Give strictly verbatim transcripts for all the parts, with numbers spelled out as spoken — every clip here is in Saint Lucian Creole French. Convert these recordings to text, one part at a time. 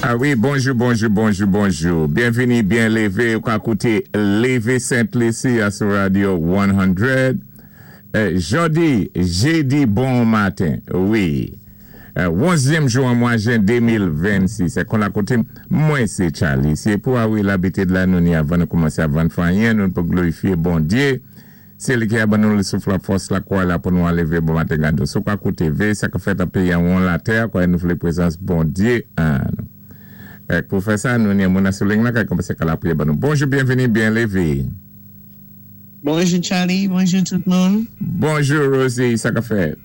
A wi, bonjou, bonjou, bonjou, bonjou. Byenvini, byen lévé. Ou ka kouté Lévé Sent Lisi sou Radio san. Euh, jodi, jédi bon maten, wi. Euh, onzyèm jou an mwa jen de mil vennsis. Se kon la kote, mwen sé Charlie. Sé pou a wi labitid la nou ni avan nou koumansé avan fè anyen, nou pou glorifié Bondyé. Sé li ki a ban nou le souf la fòs la kwa la pou nou an lévé bon maten gado. Sou ka kouté ve, sa ka fèt an péyi an won latè, kwa nou vlé prézans Bondyé an nou. Eh, pou fè sa, nou ni moun sou liy la, ka koumansé ka lapriyè ban nou. Bonjou, byenvini, byen lévé. Bonjou Charlie, bonjou tout moun. Bonjou Rosie, sa ka fèt?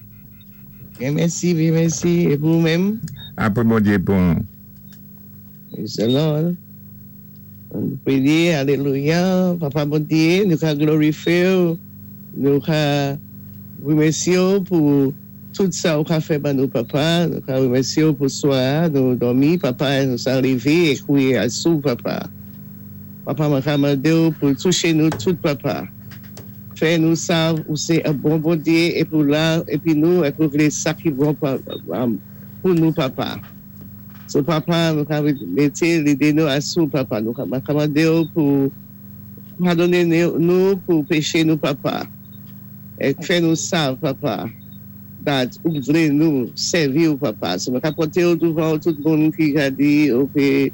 Byen mèsi, byen mèsi. É pou ou-menm? Apwé Bondyé bon. Praise the Lord. An priyé, alélouya. Papa Bondyé, nou ka glorifié, nou ka wimèsyé pou tout sa ou ka fè ban nou, papa. Nou ka wimèsyé pou swa, nou dòmi, papa, nou sa lévé é kouwé asou, papa. Papa, mwen ka mandé ou pou touché nou tout, papa. Fè nou sav ou sé an bon Bondyé é pou la, épi nou, é pou vlé sa ki bon pa- um, pou nou, papa. So, papa, nou ka mété lidé nou asou, papa. Nou ka ka mandé ou pou padoné nou nou pou péché nou, papa. É fè nou sav, papa, that ou vlé nou sèvi ou, papa. So, mwen ka poté ou douvan tout moun ki ka di, ok,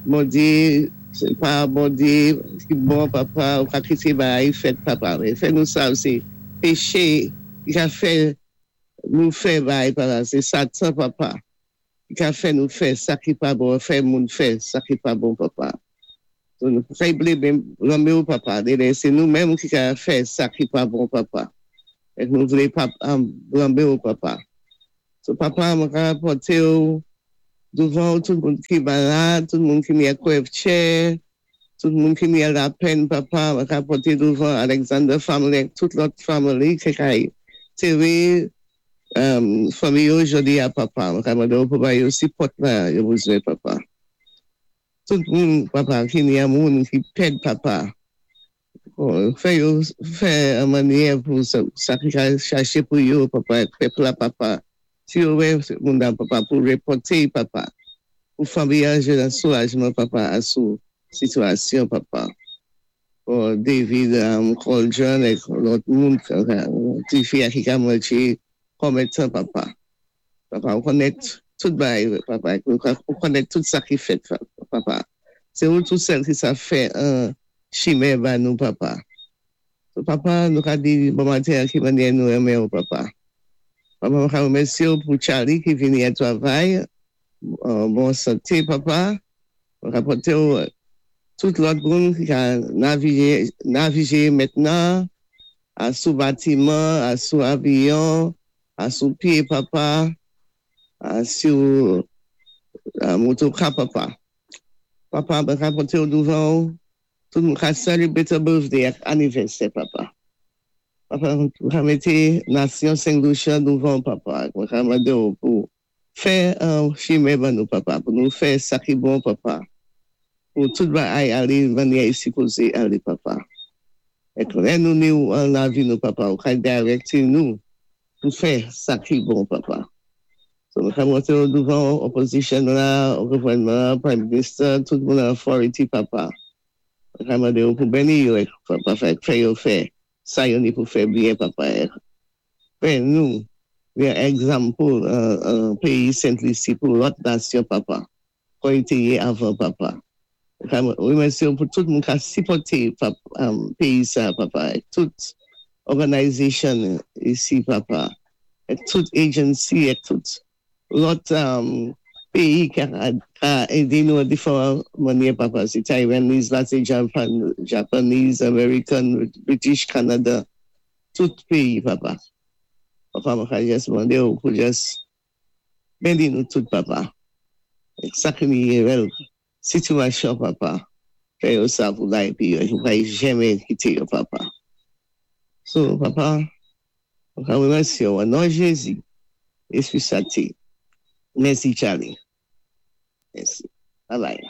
Bondyé, sé pa Bondyé ki bon, papa, ou ka kité bagay fèt, papa. Men fè nou sav, sé péché ki ka fè nou fè bagay, papa. Sé Satan, papa, ki ka fè nou fè sa ki pa bon, fè moun fè sa ki pa bon, papa. So, nou fè blé blame ou, papa. Dé sé nou menm ki ka fè sa ki pa bon, papa. É nou vlé pa um, blame ou, papa. So, papa, mwen ka poté ou douvan tout moun ki malad, tout moun ki ni kwèvtchè, tout moun ki ni lapenn, papa, mwen ka poté douvan Alexander family, tout lòt family ki ka téré um, fanmi yo jodi a, papa. Mwen ka mandé ou pou ba yo sipòt la yo bezwen, papa. Tout moun, papa, ki ni an moun ki pèd, papa. Bon, fè yo fè an mannyè pou sa, sa ki ka chaché pou yo, papa, pèp la, papa. Si yo wè moun nan, papa, pou répòté, papa. Pou fanmi an jwenn an soulajman, papa, asou sitiyasyon, papa. Pou David um, Coldren ek lòt moun, ti fi a ki ka manjé konbyen tan, papa. Papa, ou konnèt tout bagay, papa. Ou konnèt tout sa ki fèt, papa. Sé ou tout sèl ki sa fè an chimen ba nou, papa. So, papa, nou ka di bon maten ki mannyè nou renmen ou, papa. Papa, mwen ka remèsyé ou pou Charlie ki vini a travay, an bon santé, papa. Mwen ka poté ou tout lòt moun ki ka navigé, navigé mentnan, a sou batiman, a sou avyon, a sou pyé, papa, a sou a motoka, papa. Papa, mwen ka poté ou douvan ou, tout moun ka celebrate birthday ak anivèsè, papa. Papa, mwen ka mété nasyon Saint Lucia douvan, papa. Mwen ka mandé ou pou fè an chimen ban nou, papa, pou nou fè sa ki bon, papa. Pou tout bagay alé mannyè i sipozé alé, papa. É lè nou ni ou an lavi nou, papa, ou ka direct nou pou fè sa ki bon, papa. So, mwen ka monté ou douvan opposition la, ou gouvènman, prime minister, tout moun authority, papa. Mwen ka mandé ou pou béni yo, ek, papa, fè, fè yo fè, sa yo ni pou fè byen, papa. Ek. Fè nou, yon example, an, an péyi Sent Lisi pou lòt nasyon, papa. Kon i té yé avan, papa. Wi, mèsi pou tout moun ka sipòté pap, um, péyi sa, papa. Ek tout organization isi, papa. Ek tout agency, ek tout lòt um, péyi ka, ka édé nou an diferan mannyè, papa. Sé Taiwanese, la sé Japan, Japanese, American, British, Canada. Tout péyi, papa. Papa, mwen ka jis mandé ou pou jis béni nou tout, papa. Ek sa ki ni rel sitiyasyon, papa. Fè yo sa pou la épi yo, yo pa janmen kité yo, papa. So, papa, mwen ka remèsyé ou, an non Jézi, Espri Senti. Mèsi, Charlie. Mèsi. Bye bye.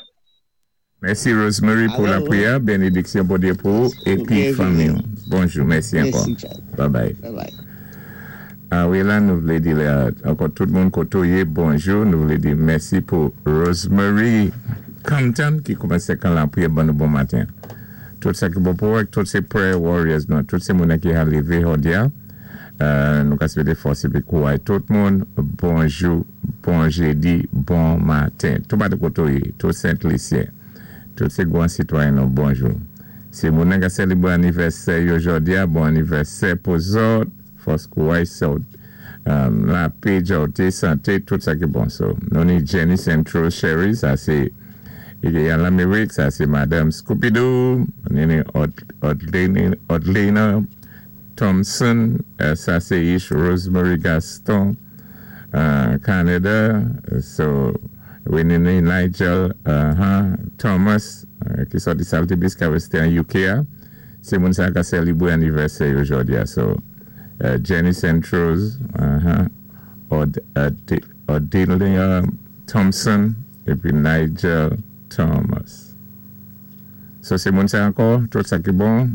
Mèsi Rosemary pou Alo. Lapriyè, bénédiksyon Bondyé pou ou épi Byenvini. Fanmi. Bonjou, mèsi ankò. Mèsi, Charlie. Bye bye. Bye bye. A wi la, nou vlé di ankò tout moun koto yé, bonjou, nou vlé di mèsi pou Rosemary Compton ki koumansé kan lapriyè ban nou bon maten. Tout sa ki bon pou tout sé prayer warriors nou, tout sé moun ki a lévé jòdi-a. Euh, nou ka swété fòs épi kouway tout moun, bonjou, bon jédi, bon maten. Tout patou koto yé, tout Sent-Lisyen, tout sé gwan sitwayen nou, bonjou. Si moun ka sélébwé anivèsè yo jòdi-a, bon anivèsè pou zòt, fòs kouway sot, um, lapé, jòté, santé, tout sa ki bon. So, nou ni Jenny Central Sherry, sa sé an Lamérik, sa sé Madame Scooby-Doo, nou ni Odlena Thompson, euh, sa sé Ish Rosemary Gaston, uh, Canada, so, we ni Nigel uh, Thomas, uh, ki sòti Saltibus, ki wésté an U K, sé moun sa ka sélébwé anivèsè jòdi-a, so, uh, Jenny Centros, uh-huh, Od, Odelia Thompson, épi Nigel Thomas. So, sé moun sa ankò, tout sa ki bon,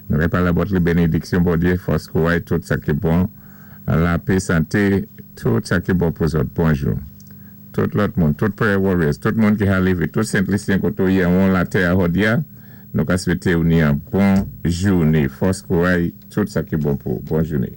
nou wé palé about li bénédiksyon Bondyé, fòs kouway, tout sa ki bon, lapé, santé, tout sa ki bon pou zòt, bonjou. Tout lòt moun, tout prayer warriors, tout moun ki a lévé, tout Sent-Lisyen koto yé an latè a jòdi-a, nou ka swété ou ni an bon jouné, fòs kouway, tout sa ki bon pou, bon jouné.